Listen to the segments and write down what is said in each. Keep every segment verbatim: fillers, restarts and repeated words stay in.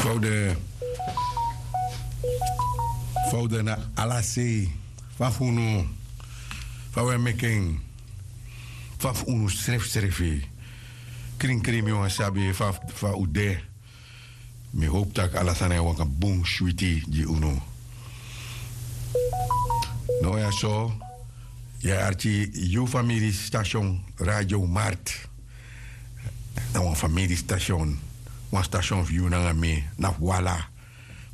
Fa un de? Fa un de na ala sei? Fa fu unu? Fa un e meki en? Fa fu unu srefsrefi? Krinkrin, mi wani sabi fa fa un de. Mi howpu tak' ala sani e waka bun switi gi unu. No, ya so, yu e arki yu famiri station Radio Markt. Na wan famiri station, wan station fu yu nanga mi, na fu ala.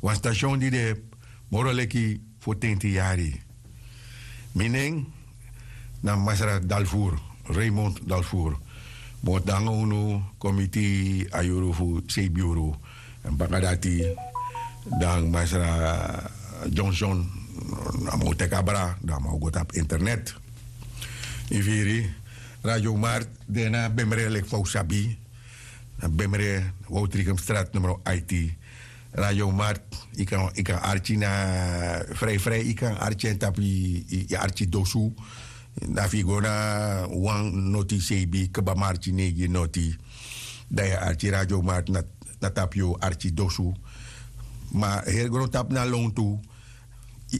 Wan station di de moro leki fotenti yari. Mi nen na Masra Dalvoer, Raymond Dalvoer. Mi o tan nanga unu kon miti a yuru fu seibin yuru. Èn baka dati dan Masra Johnson, a man o teki abra, dan a man o go tapu internet. Yu firi, Radio Markt de na Bemre, leki fa un sabi. Na Bemre, Woutrichem straat nummer aiti. Radio Markt, yu kan, yu kan arki na, vrij vrij yu kan arki en tapu yu, yu, yu arki dosu. Na fu yu go na wan noti seibin, kba marki neigi noti. Dan yu e arki Radio Markt na, na tapu yu arki dosu. Ma heri grontapu na lontu. Yu,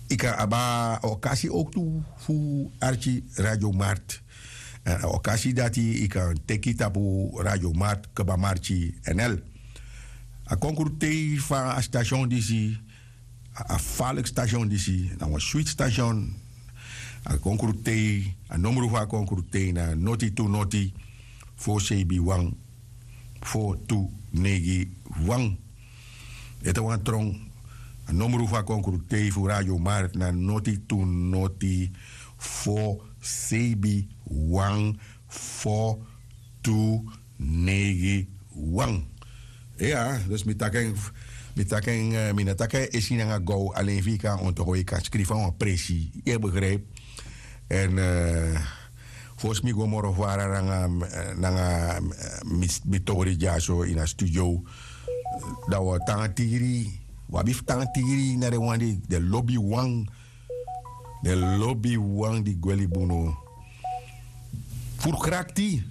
yu kan abi a okasi ook tu fu arki Radio Markt. Èn a okasi dati yu kan teki tapu Radio Markt, kba marki N L. A konkrutei fu a station disi, a, a faliki station disi, na wan switi station. A konkrutei, a nomru fu a konkrutei na noti tu noti, fo seibin wan, fo tu neigi wan. Ete wan tron, a nomru fu a konkrutei fu Radio Markt na noti tu noti, fo seibin wan, fo tu neigi wan. Ya, dus mi taki en, mi taki en, eh, mi no taki en esi nanga gow, alen fu yu kan onthouden, yu kan skrifi na wan presi, yu e begrijp. Èn, eh, fosi mi go moro fara nanga, eh, nanga, eh, mi, mi tori dyaso ini a studio. Dan wi o tan tiri, wi abi fu tan tiri na den wan di den lobi wan, den lobi wan di gwe libi unu. Furu krakti.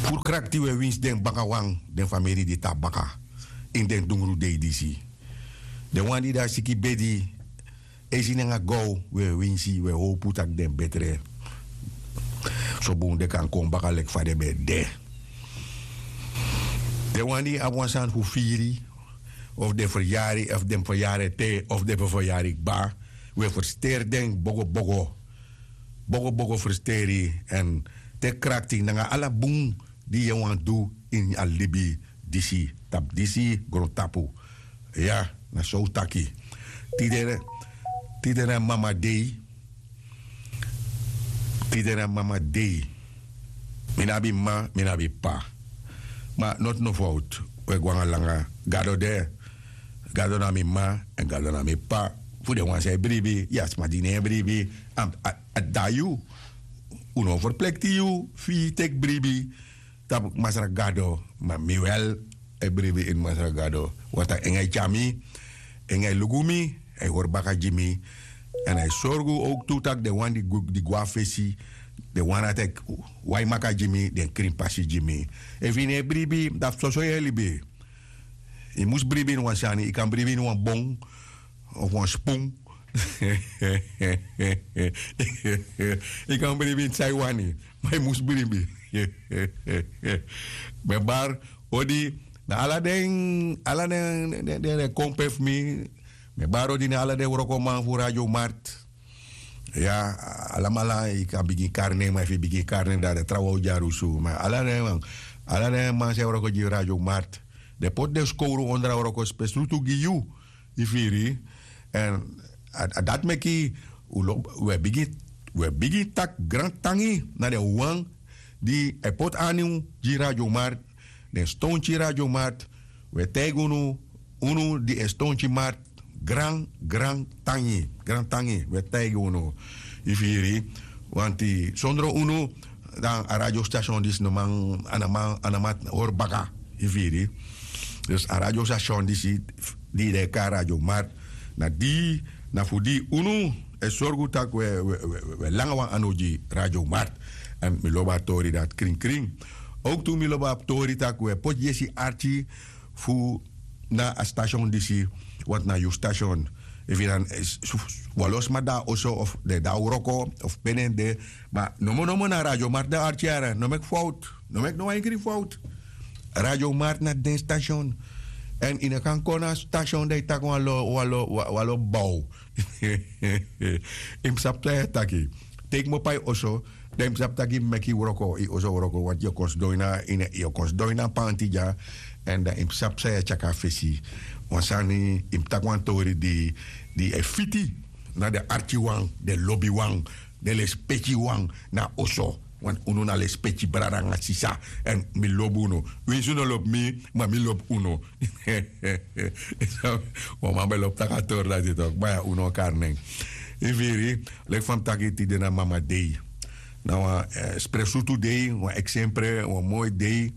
Furu krakti wi e winsi den bakawan, den famiri di tan baka ini den dungru dei disi. Den wan di de a siki bedi, esi nanga gow, wi e winsi, wi e howpu tak' den betre. So bun den kan kon baka leki fa den ben de. Den wan di abi wan sani fu firi, of den feryari, of den feryari ete, of den feryari kba, wi e fersteri den bogo bogo. Bogo bogo fersteri, èn teki krakti nanga ala bun di yu wani du ini a libi disi, tapu disi grontapu. Ya, na so un taki. Tide, tide na mama dei. Tide na mama dei. Mi no abi mma, mi no abi p'pa. Ma noti no fowtu, un e go nanga langa. Gado de. Gado na mi mma, èn Gado na mi p'pa. Fu den wan san e bribi, ya, sma di no e bribi, a, a, a de na yu. Un no ferplikti yu fu yu teki bribi tapu Masra Gado, ma mi wel e bribi ini Masra Gado. Want a en e tyari mi, en e luku mi, a e hori baka gi mi. Èn a e sorgu ook tu tak' den wan di go, di go na fesi, den wan dati e wai maka gi mi, den krin pasi gi mi. Efu yu no e bribi, dan fu soso yu e libi. Yu mus bribi ini wan sani, yu kan bribi ini wan bon, of wan spun. Yu kan bribi ini san yu wani, ma yu mus bribi. Mi e bari odi na ala den, ala den, den, den, den kompe fu mi. Mi e bari odi na ala den wrokoman fu Radio Markt. Ya, alamala, yu kan bigin kari nen, ma efu yu bigin kari nen, dan den trawan o dyarusu. Ma ala den man, ala den man san e wroko gi Radio Markt, den poti den skowru ondro a wroko spesrutu gi yu. Yu firi? Èn a, a dati meki un lo, un e bigin, un e bigin taki grantangi na den wan di e poti anu gi Radio Markt, den stonti Radio Markt. Un e taigi unu, unu di e stonti Markt, gran, grantangi, grantangi, un e taigi unu. Yu firi? Wanti sondro unu, dan a radiostation disi no man, a no man, a no man hori baka. Yu firi? Dus a radiostation disi, di den e kari Radio Markt, na di, na fu di unu e sorgu tak' un e, un e, un e, un e langa wan anu gi Radio Markt. Èn mi lobi a tori dati krinkrin. Owktu mi lobi abi tori tak' un e poti yesi arki fu na a stasion disi. Wantu na yu stasion, efu yu dan wan lo sma de na oso of den de na wroko of pe den de. Ma nomo nomo na radio marti den arki yara no meki fowtu. No meki no wan enkri fowtu. Radio marti na den stasion. Èn yu no kan kon na stasion dan yu taki wan lo wan lo wan lo bow. Yu mus sabi san yu e taki. Te yu kmopo na yu oso dan yu mus sabi tak' yu mus meki wroko yu oso wroko wantu yu o kon sidon ini a ini yu o kon sidon ini a panti dya. Èn dan yu mus sabi san yu e tyaki na fesi. Wan sani yu mus taki wan tori di di e fiti na den arkiwan den lobiwan den lespekiwan na oso. Wantu unu na lespeki brada nanga sisa. Èn mi lobi unu winsi un no lobi mi ma mi lobi unu. Wan man ben lobi taki a tori dati tok' ma ya un no o kari nen. Yu firi? Leki fa mi taki tide na mama dei. Na wan spre sutu dei wan eksempre wan moi dei,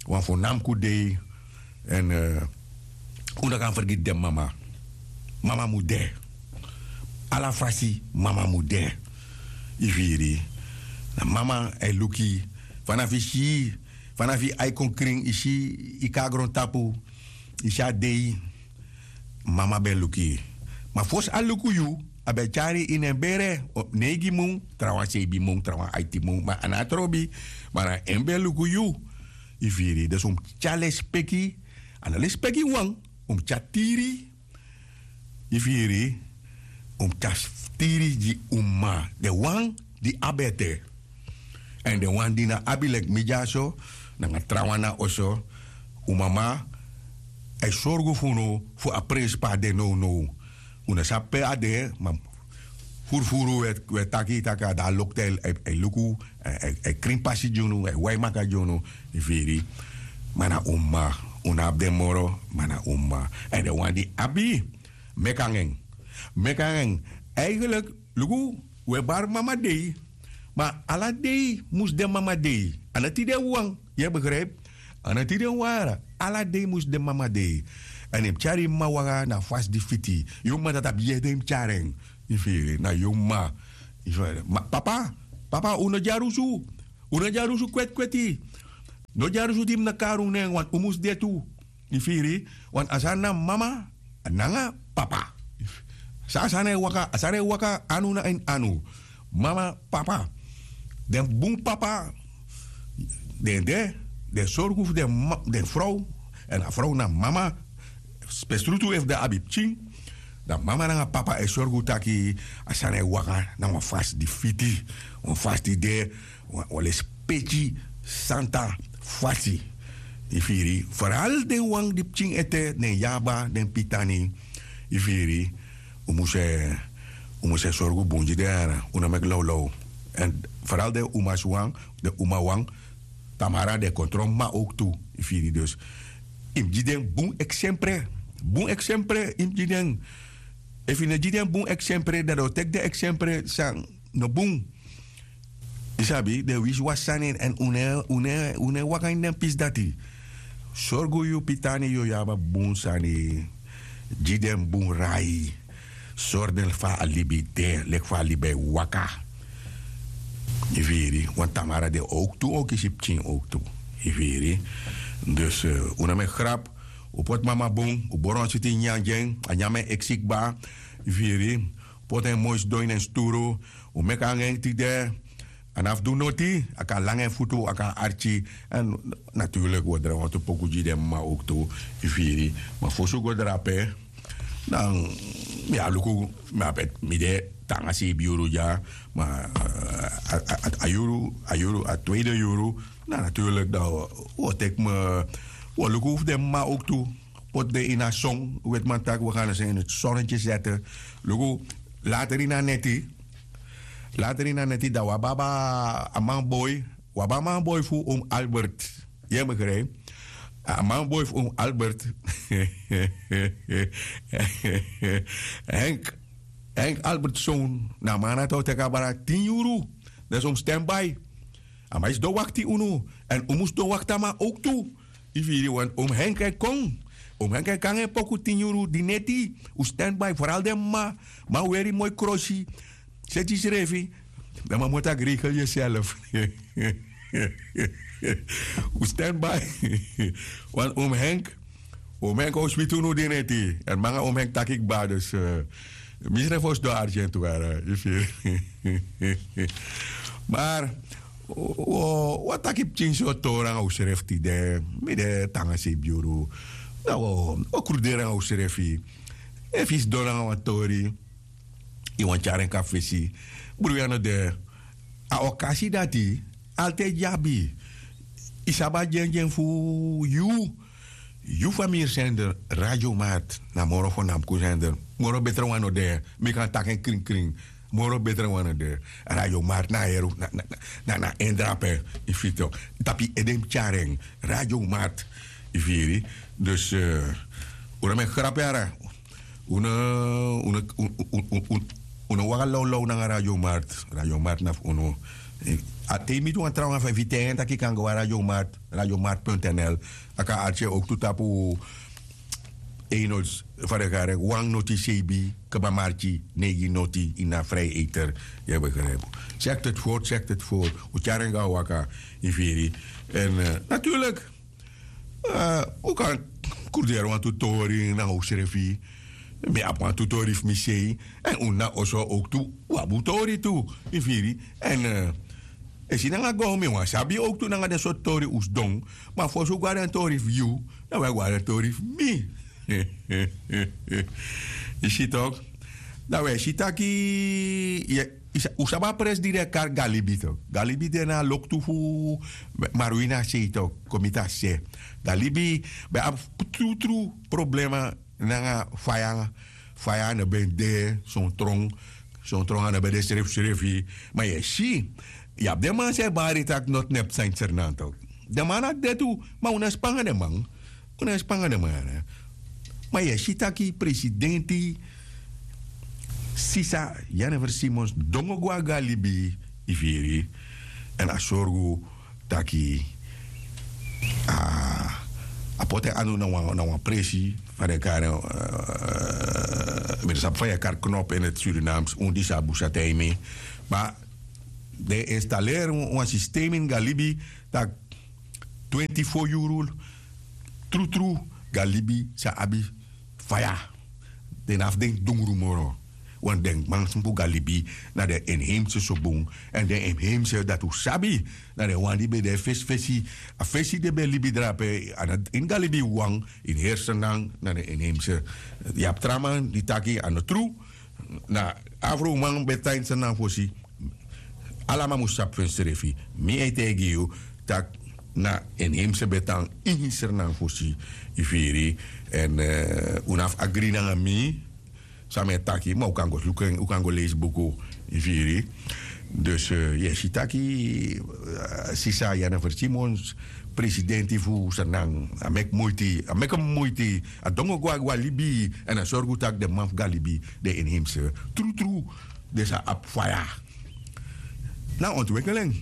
wan fu namku dei. Èn un no kan fergiti den mama. Mama mus de. Ala fasi mama mus de. Yu firi? Na mama e luku yu. Fanafu yu si yu fanafu yu ai kon krin yu si yu kon na grontapu. Yu si a dei. Mama ben luku yu. Ma fosi a luku yu a ben tyari yu ini en bere. Neigi mun trawan seibi mun trawan aiti mun ma a no a trobi. Ma na en ben luku yu. Yu firi dus un mus tyari lespeki. A no lespeki wan. Un mus tyari tiri. Yu firi? Un mus tyari tiri gi un mama den wan di abi ete. Èn den wan di no abi leki mi dyaso nanga trawan na oso. Un mama e sorgu fu unu fu a prensipa de nownow. Un no sabi pe a de ma furufuru un e taki tak' a de na loktu e luku. A e krin pasi gi unu a e wai maka gi unu. Yu firi? Ma na un mama. Un no abi den moro ma na un mama. Èn den wan di abi meki nanga en. Meki nanga en. Eigenlik luku, un e bari mama dei. Ma ala dei mus de mama dei. A no tide wawan. Yu e begripi? A no tide wawan. Ala dei mus de mama dei. Èn yu mus tyari yu mama waka na a fasi di fiti. Yu mama dati abi yede yu mus tyari en. Yu firi? Na yu mama. Papa, papa un no dyari usu. Un no dyari usu kweti kweti. No dyari usu di mi no kari un nen wantu un mus de tu. Yu firi? Wantu a sani na mama nanga papa. San a sani e waka a sani e waka anu na ini anu. Mama papa. Den bun papa den de den sorgu fu den frow. Èn a frow na mama. Spesrutu efu den abi pikin dan mama nanga papa e sorgu taki a sani e waka na wan fasi di fiti. Wan fasi di de wan lespeki santa fasi. Yu firi? Feral den wan di pikin ete den yaba den pitani. Yu firi? Un mus e un mus e sorgu bun gi den yara un no meki lawlaw. Èn feral den umaswan den umawan tamara den kon tron mama owktu. Yu firi dus yu mus gi den bun eksempre. Bun eksempre yu mus gi den. Efu yu no gi den bun eksempre dan den o teki den eksempre san no bun. Yu sabi den wisiwasi sani èn un no e waka ini den pisi dati. Sorgu yu pitani yu o yaba bun sani. Gi den bun rai. Sori den fa a libi de leki fa a libi e waka. Yu firi? Wan tamara den owktu o kisi pikin owktu. Yu firi? Dus un no meki grapu. Un poti mama bun un bori wan switi nyanyan gi en a nyan mi en eksi kba. Yu firi? Poti en moi sidon ini en sturu. Un meki nanga en tide. A no abi fu du noti. A kan langa en futu a kan arki. Èn naturlik un o drai wantu poku gi den mama owktu. Yu firi? Ma fosi un go drape dan mi abi luku mi abi eti mi de te nanga seibi yuru dya. Ma a yuru a yuru a tweide yuru. Na naturlik dan un o teki mi un o luku fu den mama owktu. Poti den ini a son wetiman taki wi gan na sen ini sonnetye sete. Luku later ini a neti. Later ini a neti dan wi abi abi a manboi. Wi abi a manboi fu un albert. Yu e begrijpi? A manboi fu un albert. Henk henk albert son na a man dati o teki abra tin yuru. Dan so un mus sten bai. A man e sidon wakti unu. Èn un mus sidon wakti a man owktu. Yu firi? Wantu un mus henk e kon. Un mus henk e kon nanga en poku tin yuru di neti. Un sten bai foral den mama. Man weri moi krosi. Seti yusrefi. Dan man moti a greikel yuself. Un stand by. Wan oom Henk, oom Henk o switi unu dineti. Èn manga oom Henk taki kba dus, mi srefi o sidon argent wara, yu firi. Mar wan taki pikin so tori nanga usrefi tide. Mi de tanga sei biuru. Na o kruderi nanga usrefi. Efu yu sidon nanga wan tori, yu wani tyari en kon na fesi, bruya no de. A okasi dati altide yu abi. Yu sabi a dyendyen fu yu. Yu famiri sender, radio mart na moro fo namku sender. Moro betre wan no de. Mi kan taki en krinkrin. Moro betre wan no de. Radio mart na a heri, na na na en drape. Yu firi tok, tapu yu ede mus tyari en. Radio mart, yu firi. Dus un no meki grapu yara. Un no waka lawlaw nanga radio mart. Radio mart na fu unu. A te yu miti wan trawan fa yu firi ten en taki yu kan go na radio mart, radio mart punt nl. A kan arki en owktu tapu. Enols, fa den kari en, wan noti seibi kaba marki neigi noti ini a vrije eter. Yu e begrijpu. Check het voor, check het voor. Un tyari en go na waka. Yu firi. Èn natuurlik, un kan kruderi wantu tori nanga usrefi. Mi abi wantu tori fu mi sei. Èn un na oso owktu, un abi un tori tu. Yu firi. Èn e si nanga go mi wani sabi owktu nanga den sortu tori un sidon. Ma fosi un go na den tori fu yu, dan un e go na den tori fu mi. Yu si tok. Dan un e si taki un sabi a presi di den e kari galibi tok. Galibi de na a loktu fu marwina sei tok, komiti a se. Galibi ben abi trutru problema nanga faya. Faya no ben de, son tron, son tron a no ben de srefsrefi. Ma yu e si, yu abi den man san e bari tak' noti nepu san ini sernan tok. Den man na de tu. Ma un no e span nanga den man. Un no e span nanga den man. Ma yu e si tak' presidenti sisa jennifer simons dongo go na go na libi, yu firi. Èn a sorgu taki a poti en anu na wan presi fa den kari en. Mi no sabi fa yu e kari knop ini surinaams un disi a busa taigi mi. Ma den e installeri wan sistem ini go na libi tak' twenti fo yuru trutru go na libi sa abi faya. Den no abi fu denki dungru moro. Wan den man smupu go na libi na den inheimse so bun. Èn den inheimse dati un sabi na den wan di ben de fesifesi. A fesi den ben libi drape a no ini go na libi wawan. Ini heri sernan na den inheimse. Yu abi tra man di taki a no tru. Na afroman ben tan ini sernan fosi. Ala man mus sabi fu ensrefi. Mi e taigi yu tak' na inheimse ben tan ini sernan fosi. Yu firi. Èn un no abi agri nanga mi san mi e taki ma un kan go luku en un kan go leisi buku. Yu firi. Dus yu e si taki sisa jennifer simons presidenti fu sernan a meki muiti a meki muiti a dongo go na go na libi. Èn a sorgu tak' den man fu go na libi den inheimse trutru den sa abi faya. Na ontwikkeling.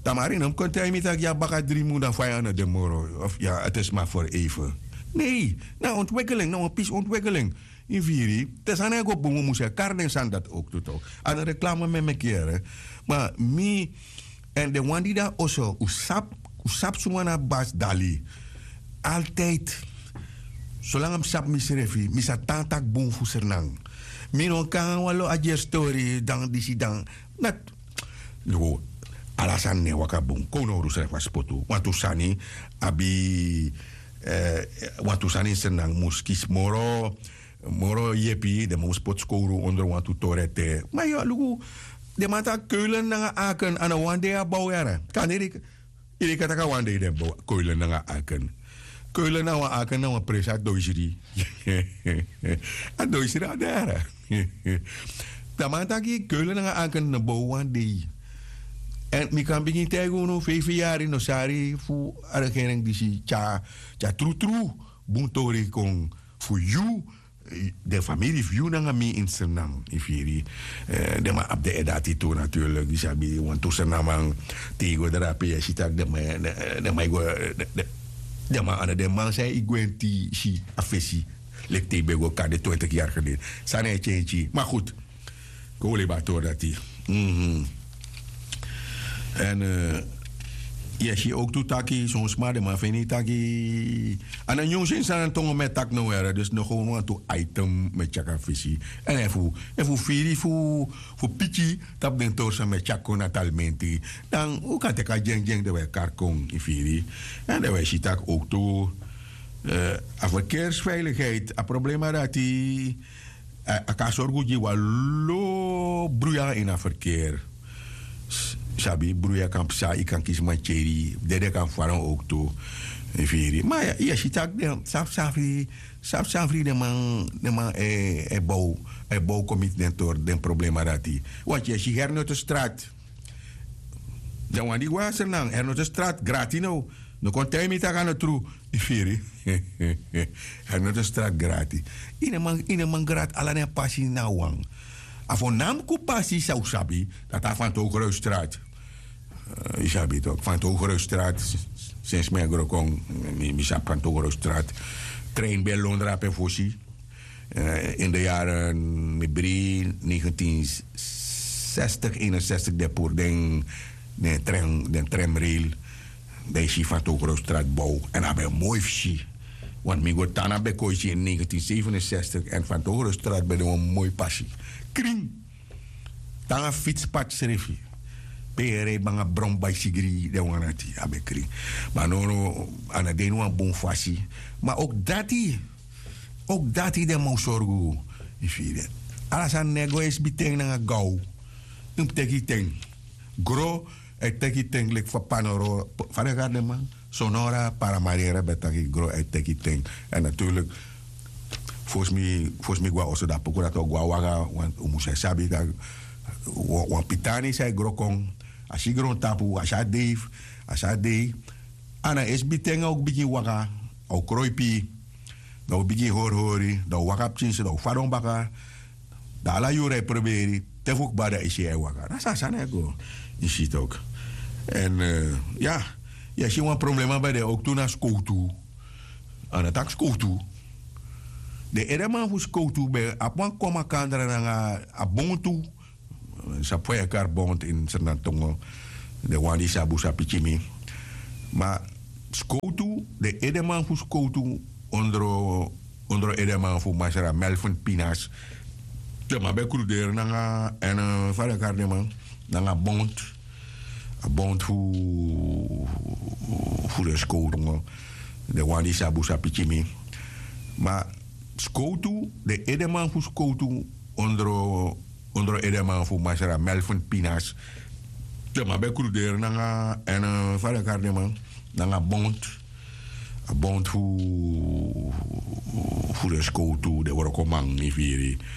Tamari no mus kon taigi mi tak' yu abi baka dri mun dan faya no de moro of ya ete sma for eife. Nei, na ontwikkeling na wan pisi ontwikkeling. Yu firi. Te sani e go bun un mus e kari den sani dati owktu tok. A no reklame mi e meki yere. Ma mi èn den wan di de na oso un sabi suma na basi dali. Altijdi solanga mi sabi misrefi mi sa tan taki bun fu sernan. Mi no kan wan lo a dyeri stori dan disi dan. Nati. Luku, ala sani no e waka bun kon un no hori unsrefi a spotu wantu sani abi wantu sani ini sernan mus kisi moro. Moro yepi den man mus poti skowru ondro wantu tori ete. Ma yu a luku den man taki keulen nanga aken a no wan dei a bow yara. Kanderi yu de kan taki a wan dei den bow keulen nanga aken. Keulen na wan aken na wan presi a doisri. A doisri a de yara. Dan man taki keulen nanga aken no bow wan dei. Èn mi kan bigin taigi unu feifi yari no sari fu a regering disi tyari a trutru bun tori kon fu yu. Den famiri fu yu nanga mi ini sernan yu firi. Den man abi den edati tu naturlik yu sabi wantu sernan man te yu go drape yu e si tak' den man e go den man anda den man san e gwenti si a fesi. Leki te yu ben go kande twintik yari geleden sani e tyentyi ma gud. Kon wi lebi a tori dati. Èn Yu e si owktu taki son sma den man feni taki a no nyun seni san na tongo mi e taki no were dus no gownu wantu item mi e tyaki a fesi. Èn efu efu firi fu fu piki tapu den tori san mi e tyaki kon na talimenti, dan un kan teki a dyengdyeng den wi e kari kon yu firi. Èn den wi e si tak' owktu a ferkeersveiligheid a problema dati a kan sorgu gi wan lo bruya ini a ferkeer. Sabi bruya kan psa yu kan kisi mantyeri dede kan faron owktu. Yu firi ma yu e si tak' den safsafri safsafri den man e bow e bow kon miti den tori den problema dati. Wanti yu e si hernotestrat. Den wan di go na sernan hernotestrat grati now. No kon taigi mi tak' a no tru. Yu firi hernotestrat grati. Yu no man grati ala den pasi na wan. A fo namku pasi san un sabi dati a fantow groystrati. Yu sabi tok fantow groystrati. Sensi mi e gro kon mi sabi fantow groystrati. Trein ben lon drape fosi. In de yaren mi bri negentien zestig eenenzestig de pur den den tremrail. Dan yu si fantow groystrati bow èn a ben moi fu si. Want mi go tan na bekoisi in negentien zevenenzestig èn fantow groystrati ben de wan moi pasi. Krin. Tan a fitspati srefi. Pe yu e rei banga bron baisigri den wan dati a ben krin. Ma no no a no de ini wan bun fasi. Ma oki dati oki dati den man o sorgu. Yu firi ala sani no e go e sbi ten nanga gaw. Yu mus teki yu ten. Gro e teki yu ten leki fa panoro fa den kari den man sonora paramarera ben taki gro e teki yu ten. Èn naturlik fosi mi go na oso dan poku dati o go na waka. Un mus e sabi tak' wan pitani san e gro kon a si grontapu a si a dei a si a dei. A na e sbi ten a o bigin waka a o kroipi. Dan o bigin hori hori dan o waka pikinso dan o fadon baka. Dan ala yuru e proberi te fu kba dan e si en e waka na so a sani e go. Yu si toki èn ya yu e si wan problema ben de owktu na skowtu. A no taki skowtu. Den edeman fu skowtu ben abi wan kon makandra nanga a bontu. Sabi fa yu e kari bontu ini srnantongo. Den wan di sabi un sa piki mi. Ma skowtu den edeman fu skowtu ondro edeman fu masra melvin pinas. Den man ben kruderi nanga èn fa den kari den man nanga bond. A bond fu fu den skowtu. Den wan di sabi un sa piki mi. Ma skowtu den edeman fu skowtu ondro edeman fu masra melvin pinas. Den man ben kruderi nanga èn fa den kari den man nanga bond. A bond fu fu den skowtu den wrokoman yu firi.